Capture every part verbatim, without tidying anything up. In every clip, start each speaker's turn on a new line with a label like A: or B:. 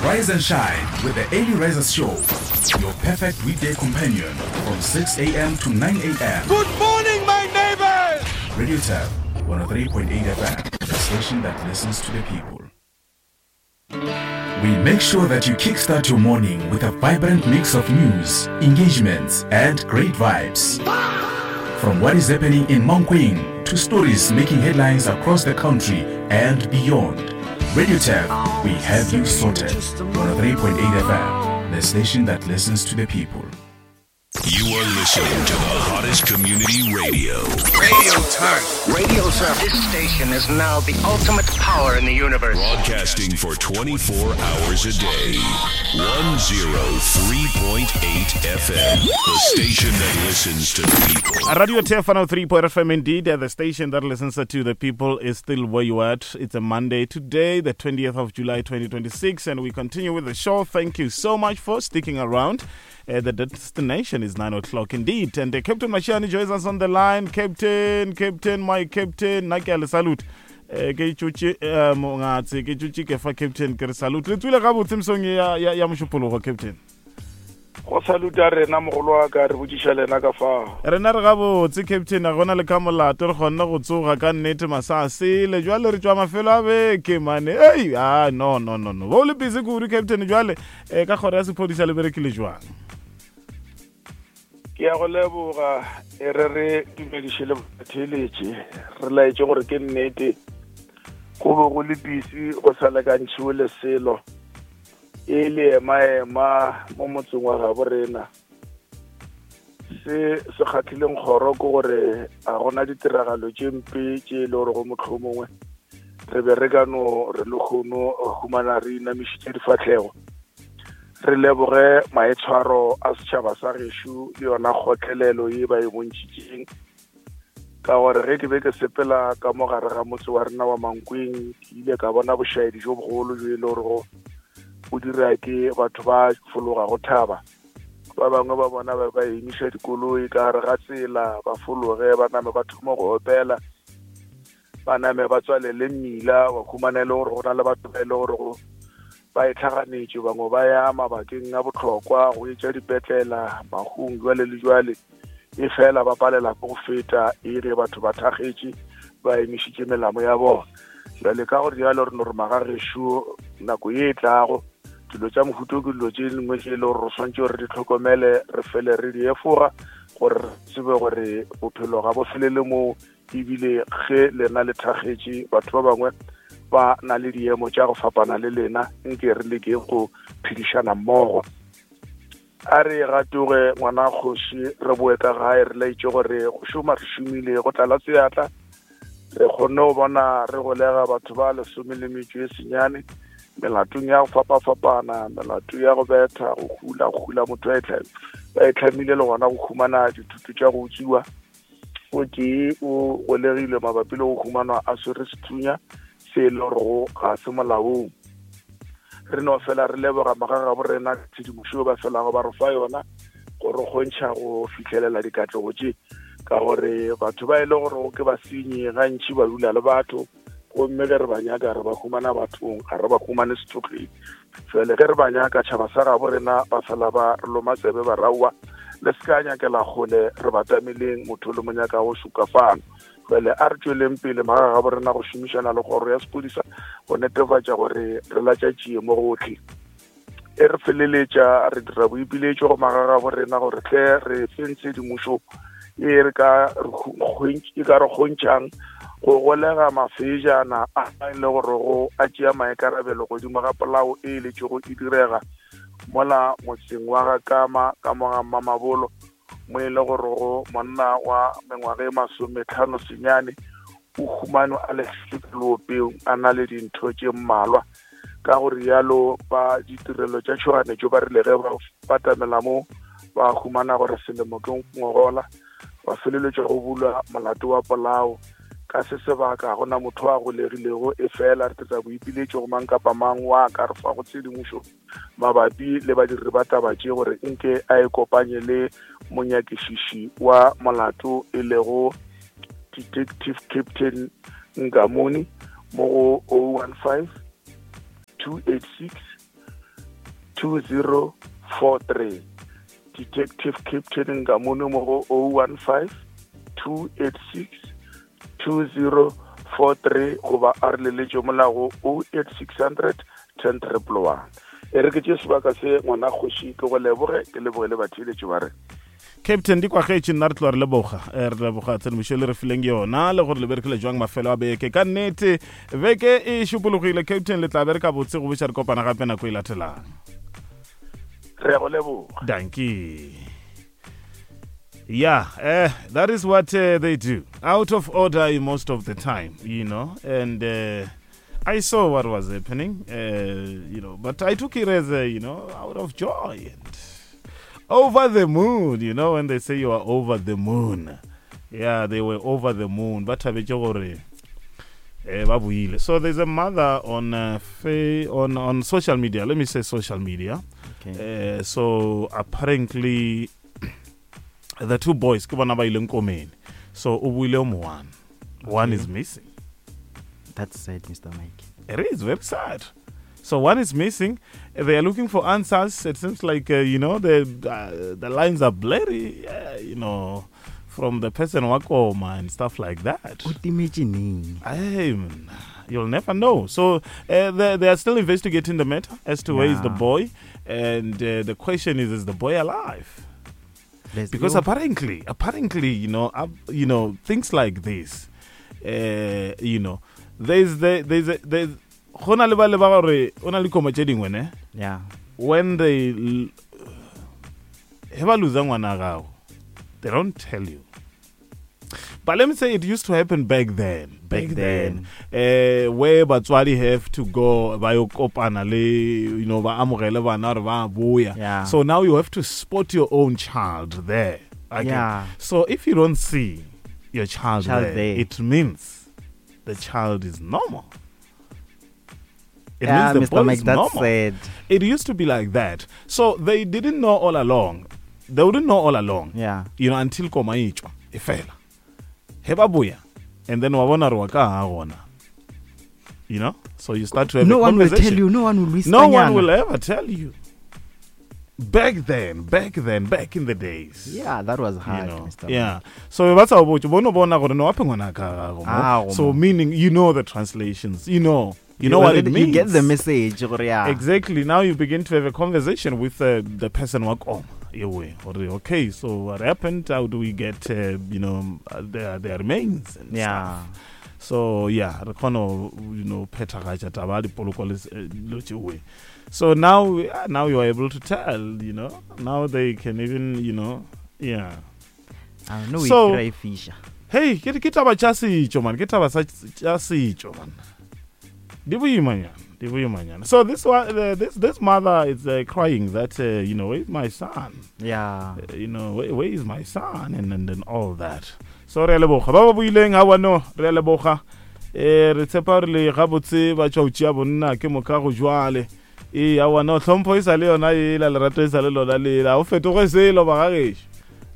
A: Rise and shine with the Early Risers Show, your perfect weekday companion from six a m to nine a m.
B: Good morning, my neighbors!
A: Radio Turf one oh three point eight F M, the station that listens to the people. We make sure that you kickstart your morning with a vibrant mix of news, engagements, and great vibes. From what is happening in Mankweng to stories making headlines across the country and beyond. Radio Turf, we have you sorted. one oh three point eight F M, the station that listens to the people.
C: You are listening to the hottest community radio.
D: Radio Turf.
E: Radio Turf. This station is now the ultimate power in the universe.
C: Broadcasting for twenty-four hours a day. one oh three point eight F M. The station that listens to the people.
F: Radio Turf one oh three point eight F M indeed, uh, the station that listens to the people is still where you at. It's a Monday today, the twentieth of July twenty twenty-six, and we continue with the show. Thank you so much for sticking around. Uh, the destination is nine o'clock indeed. And uh, Captain Mashiane joins us on the line. Captain, Captain, my Captain, nna ke a le salute. Eh, ke tšotše eh, mongatse ke tšotše ke fa Captain ke re salute le tswile gabotse mesong ya, ya, ya Mošupologo, Captain.
G: Go saluta rena, mogolo wa ka, re botšiša lena ka fao.
F: Rena re gabotse, Captain, a gona le ka molato. Re kgonne go tsoga ka nnete masasele jwale re tšwa mafelo a beke mane. Ei, a no no no no bo le busy kudu, Captain. Jwale um ka kgoro ya sephodisa le berekile jwang?
G: Ke ya go leboga. E re re dumediše le batheeletše, re laetše gore ke nnete go be go le busy, go sa lekantšhiwe le selo e le ema-ema mo motseng wa gabo rena. Se se kgatlhileng kgoro ke gore a gona ditiragalo tše mpe tše e le gore go mohlomongwe re be re ka no re le kgono humana re inamišitše difahlego. Re leboge maitshwaro a setšhaba sa gešo le yona kgotlelelo ye ba e bontšhitšeng, ka gore ge ke be ke sepela ka mo gare ga motse wa rena wa Mankweng, ke ile ka bona bošaedi jo bogolo jo e le gorego o dira ke batho ba fologa go thaba. Ba bangwe ba bona ba ba emiša dikoloi ka gare ga tsela, ba fologe, ba name ba thoma go opela, ba name ba tswalele mmila. Wa humana e le gore go na le batho ba e le gore go ba e tlhaganetše, bangwe ba ya mabakeng a bohlokwa go etša dipetlela, mahung, jwale le jwale, e fela ba palela ke go feta e ge batho ba thakgetše ba emišitše melamo ya bona. Jwale ka gore jalo re no re magagešo nako ye e tlago dilo tša mohuto ke dilo tše dingwe tše e le gore re swantše gore re di tlhokomele, re fele re di efoga gore re tsebe gore bophelo ga bo felele moo, ebile ge lena le thakgetše, batho ba bangwe ba na le diemo tša go fapana le lena. Nke re leke go phedišana mmogo. A re gatoge, ngwana kgoši, re boe ka gae, re laetše gore go šoma re šomile go tlala seatla. Re kgonne go bona re golega batho ba lesome le metšo e senyane melatong ya go fapafapana, melato ya go betha, go hula, go hula motho a e tlha- ba e tlhamile, le gona go humana dithuto tša go utswiwa. O tee o golegilwe mabapi le go humanwa a swere sethunya se e le gorego ga se molaong. Re no fela re leboga magagabo rena tshedimošo ba felago ba re fa yona gore kgontšha go fitlhelela dikatlego tše, ka gore batho ba e le gore ke basenyi gantši ba dula le batho, gomme ge re ba nyaka re ba humana bathong, ga re ba humane sethokgeng. Jale ge re ba nyaka, tšhaba sa gabo rena ba fela ba re loma tsebe, ba raowa le se ka nyakela kgole, re batameleng motho le mo nyaka go šuka fano. Jale a re tšweleng pele, magagabo rena, go šomišana le kgoro ya sephodisa go netefatša gore re latša tšie mo gotlhe. E re feleletša re dira boipiletšo go magagabo rena gore tle re feng tshedimošo e re ka re kgwen- e ka re kgontšhang go golega mafejana a e le gore go a tšea maikarabelo godimo ga polao e letšego e direga mola motseng wa ga Kama ka mo ga Mamabolo, mo e le gore go monna wa mengwaga e masometlhano senyane o humanwe a lahlilwe ka leopeng a na le dintho tše mmalwa. Ka go rialo ba ditirelo tša tšhoganetšo ba rile ge ba batamela mo, ba humana gore selemo ke ngogola, ba feleletša go bulwa molato wa polao. Ka se sebaka gona motho a golegilego, e fela re tla boipiletšo go mang kapa mang wa ka re fa go tshedimošo mabapi le badiri ba taba tše gore nke a e kopanye le monyakišiši wa molato e lego Detective Captain Ngamuni mo go zero one five two eight six two zero four three. Detective Captain Ngamune mo go oh one five two eight six two zero four three goba a re leletše mola go oh eight six hundred ten triple one. E re ke tše sebaka se ngwana kgoši ke go leboge, ke leboge le batheeletši ba re.
F: Captain di kwagetše nna re tloga re leboga, re leboga tshedimošo le re fileng yona le gore le berekile jwang mafelo a beke. Ka nnete beke e šupologile Captain, le tla bereka botse go boša re kopana gape nako e latelang.
G: Re go leboga.
F: Dankie. Yeah, uh, that is what uh, they do. Out of order most of the time, you know, and uh, I saw what was happening, uh, you know, but I took it as a, you know, out of joy and over the moon, you know, when they say you are over the moon. Yeah, they were over the moon. But so there's a mother on uh, on on social media. Let me say social media.
H: Okay.
F: Uh, so apparently the two boys, so one, one is missing.
H: That's sad, Mister Mike.
F: It is very sad. So one is missing. They are looking for answers. It seems like, uh, you know, the uh, the lines are blurry, uh, you know, from the person wakoma and stuff like that. Hey, you'll never know. So uh, they, they are still investigating the matter as to yeah. where is the boy. And uh, the question is, is the boy alive?
H: Let's
F: because
H: go.
F: apparently, apparently, you know, uh, you know, things like this, uh, you know, there's the, there's a, there's gona le ba le ba gore o na le koma tše dingwe ne?
H: Yeah.
F: When they he ba loser ngwana gago, they don't tell you. But let me say it used to happen back then. Back, back then, then. Uh, where batswadi have to go ba yo kopana le, you know, ba amogele bana re ba boya.
H: Yeah.
F: So now you have to spot your own child there. Okay.
H: Yeah.
F: So if you don't see your child,
H: child
F: there,
H: there,
F: it means the child is normal. It
H: yeah,
F: means the
H: Mister
F: boy
H: Mike,
F: is
H: that's
F: normal.
H: sad.
F: It used to be like that. So they didn't know all along. They wouldn't know all along.
H: Yeah.
F: You know, until koma e tšwa, e fela. He ba boya, and then wa bona re wa ka ha gona. You know? So you start to have
H: no
F: a
H: one will
F: conversation.
H: tell you. No one will whisper.
F: No one will ever tell you. Back then, back then, back in the days.
H: Yeah, that was hard,
F: you know,
H: Mister
F: Yeah. So that's how about you.
H: Ah,
F: So meaning you know the translations. You know. You know what it means.
H: You get the message. Yeah.
F: Exactly. Now you begin to have a conversation with uh, the person. Okay, so what happened? How do we get, uh, you know, their, their remains and
H: yeah.
F: stuff? So, yeah, you know, so now, now you are able to tell, you know. Now they can even, you know, yeah.
H: I know.
F: So,
H: fish.
F: Hey, ke taba tša setšo, man. Ke taba tša setšo, man. So this one, uh, this this mother is uh, crying that uh, you know, where is my son?
H: Yeah,
F: uh, you know, where, where is my son? And and, and all that. So re a leboga ba ba buileng ha wano re a leboga eh re tshepa re le gabotse ba tšwa tšea bonna ke moka go jwale e a wano hlompho e sa le yona e la lerato e sa le lona le la o fetoge selo ba gagešo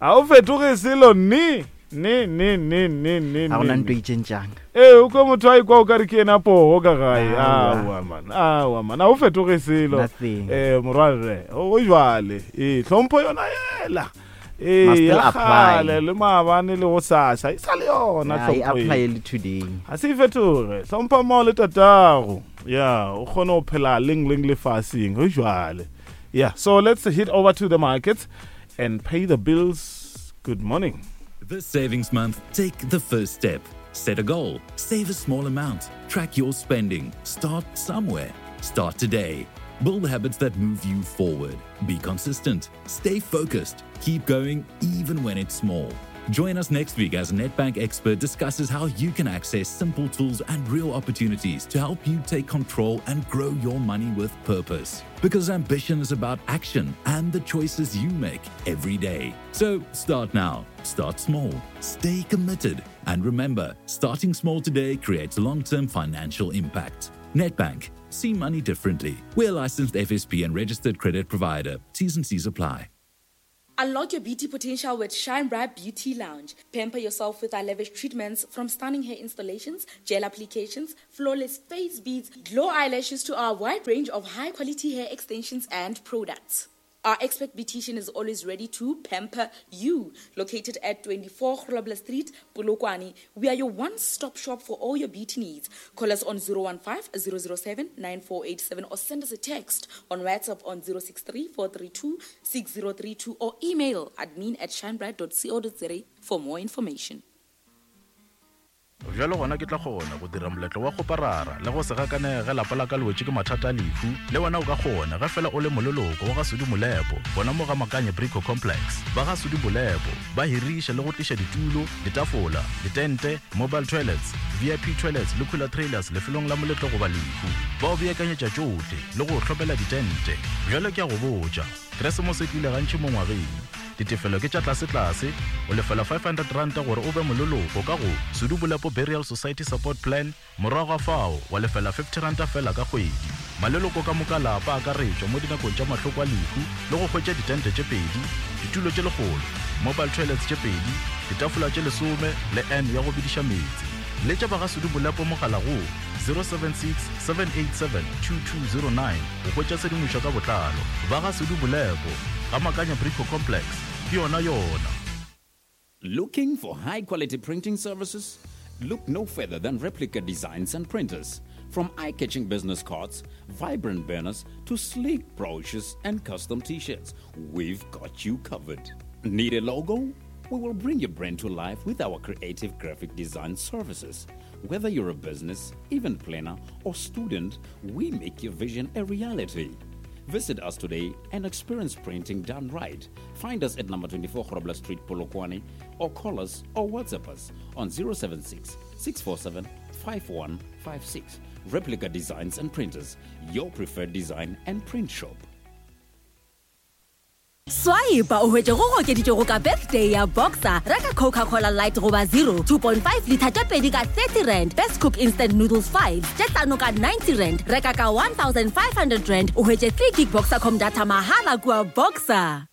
F: a o fetoge selo ni ne ne ne ne ne
H: a gona ntwe e tšentšang
F: ee o kwa motho a ikwa o ka re ke ena poho ka gae aowa man aowa man a o fetoge selo eh morwarre o jwale ee hlompho yona ela ee ya kgale le maabane le go sasa e sa le yona
H: tlhompho
F: ga se e fetoge hlompha mao le tatago ya o kgone go phela leng leng lefaseng go jwale. Yeah, so let's hit over to the markets and pay the bills. Good morning.
I: This savings month, take the first step. Set a goal, save a small amount, track your spending, start somewhere. Start today. Build habits that move you forward. Be consistent, stay focused, keep going even when it's small. Join us next week as Nedbank Expert discusses how you can access simple tools and real opportunities to help you take control and grow your money with purpose. Because ambition is about action and the choices you make every day. So start now, start small, stay committed, and remember, starting small today creates long-term financial impact. Nedbank, see money differently. We're a licensed F S P and registered credit provider. T's and C's apply.
J: Unlock your beauty potential with Shine Bright Beauty Lounge. Pamper yourself with our lavish treatments from stunning hair installations, gel applications, flawless face beads, glow eyelashes to our wide range of high quality hair extensions and products. Our expert beautician is always ready to pamper you. Located at twenty-four Grobler Street, Polokwane, we are your one-stop shop for all your beauty needs. Call us on zero one five, zero zero seven, nine four eight seven or send us a text on WhatsApp on zero six three, four three two, six zero three two or email admin at shinebright dot co dot za for more information.
A: Bjalo gona ke tla kgona go dira moletlo wa kgoparara le go se gakanege lapa la ka le wetše ke mathata a lehu. Le wena o ka kgona ge fela o le moleloko wa ga Sudi Molepo, gona mo ga Makanye Brico Complex. Ba ga Sudi Molepo ba hiriša le go tliša ditulo, ditafola, ditente, mobile toilets, V I P toilets le cooler trailers lefelong la moletlo goba lehu. Ba o beakanyetša tšohle le go hlopela ditente. Bjalo ke a go botša, Keresemose e tlile gantši mo ngwageng. Ditefelo ke tša tlase-tlase, o lefela five hundred ranta gore o be moleloko ka go Sudi Molepo Burial Society Support Plan, morago ga fao wa lefela fifty ranta fela ka kgwedi. Maleloko ka moka lapa a akaretšwa mo dinakong tša mahloko a lehu le go hwetša ditente tše pedi, ditulo tše lekgolo, mobile toilets tše pedi, ditafola tše lesome le N ya go bediša meetse. Letša ba ga Sudi Molepo mogala go zero seven six, seven eight seven, two two zero nine go hwetša tshedimošo ka botlalo. Ba ga Sudi Molepo, ga Makanya Brico Complex, ke yona yona.
K: Looking for high-quality printing services? Look no further than Replica Designs and Printers. From eye-catching business cards, vibrant banners, to sleek brochures and custom t-shirts, we've got you covered. Need a logo? We will bring your brand to life with our creative graphic design services. Whether you're a business, event planner, or student, we make your vision a reality. Visit us today and experience printing done right. Find us at number twenty-four Grobler Street, Polokwane, or call us or WhatsApp us on zero seven six, six four seven, five one five six. Replica Designs and Printers, your preferred design and print shop.
L: Swipe o hwetše go okeditšego ka birthday ya Boxer. Reka Coca-Cola Light goba zero, two point five liter tše pedi ka thirty rand. Best Cook Instant Noodles five, tše hlano ka ninety rand. Reka ka one thousand five hundred rand o hwetše three gig Boxercom data mahala kua Boxer.